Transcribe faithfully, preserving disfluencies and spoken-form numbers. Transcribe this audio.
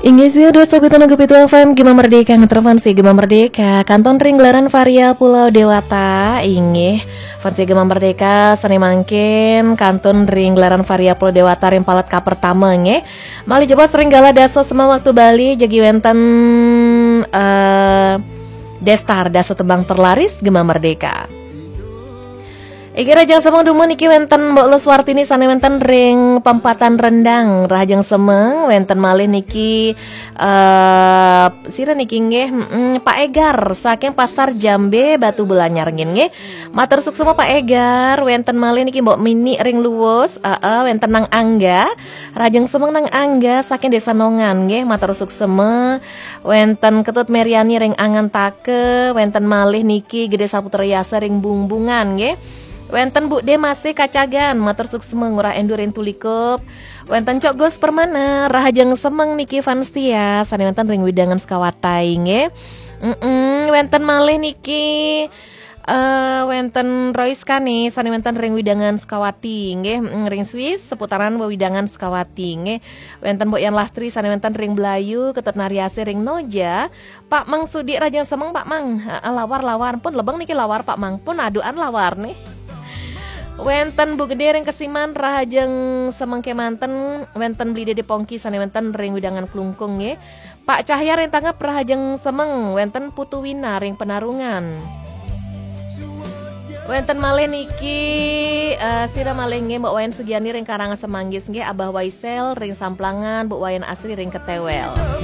Inggih, sih, dua sabitan G P dua F M, Gema Merdeka, ngeterfan si Gema Merdeka, kantun ring gelaran Varia Pulau Dewata, inggih. Fans Gema Merdeka, sane mangkin, kantun ring gelaran Varia Pulau Dewata, ring palet kapertama, nggih. Malih jebos ring galah dasa sema waktu Bali, jagi wenten, eh, Destar, dasa tembang terlaris, Gema Merdeka. Inggih, rahajeng semeng dumun niki wenten Mbok Luswartini sane wenten ring Pempatan Rendang. Rahajeng semeng wenten malih niki, eh, sira niki nggih, mm, Pak Egar saking Pasar Jambe Batu Belanyar nggih. Matur suksma Pak Egar, wenten malih niki Mbok Mini ring Luwus, heeh, wenten Nang Angga. Rahajeng semeng Nang Angga saking Desa Nongan nggih, matur suksma. Wenten Ketut Meriani ring Angantaka, wenten malih niki Gede Saputra Yasa ring Bungbungan nggih. Wenten Bu De masih Kacagan, matur suksma Ngurah Endur ring Tulikup. Wenten Cok Gus Permana, rahajeng semeng niki fans setia, sane wenten ring wewidangan Sukawati nggih. Mm-mm, wenten malih niki, eh, wenten Rois Kani, sane wenten ring wewidangan Sukawati nggih, mm, ring Swiss seputaran wewidangan Sukawati nggih. Wenten Mbok Yan Lastri, sane wenten ring Blayu, Ketut Nariase ring Noja, Pak Mang Sudi rahajeng semeng, Pak Mang. Heeh, lawar, lawar. Pun lebeng niki lawar, Pak Mang. Pun aduan lawar nih. Wenten Bu Gede ring Kesiman, rahajeng semeng kemanten. Wenten Beli Dede Pongki sane wenten ring wewidangan Klungkung nggih. Pak Cahya ring Tangep, rahajeng semeng. Wenten Putu Wina ring Penarungan. Wenten malih niki, eh, sira malih nggih, Mbok Wayan Sugiani ring Karangasem Manggis nggih, Abah Waisel ring Samplangan, Bu Wayan Asri ring Ketewel.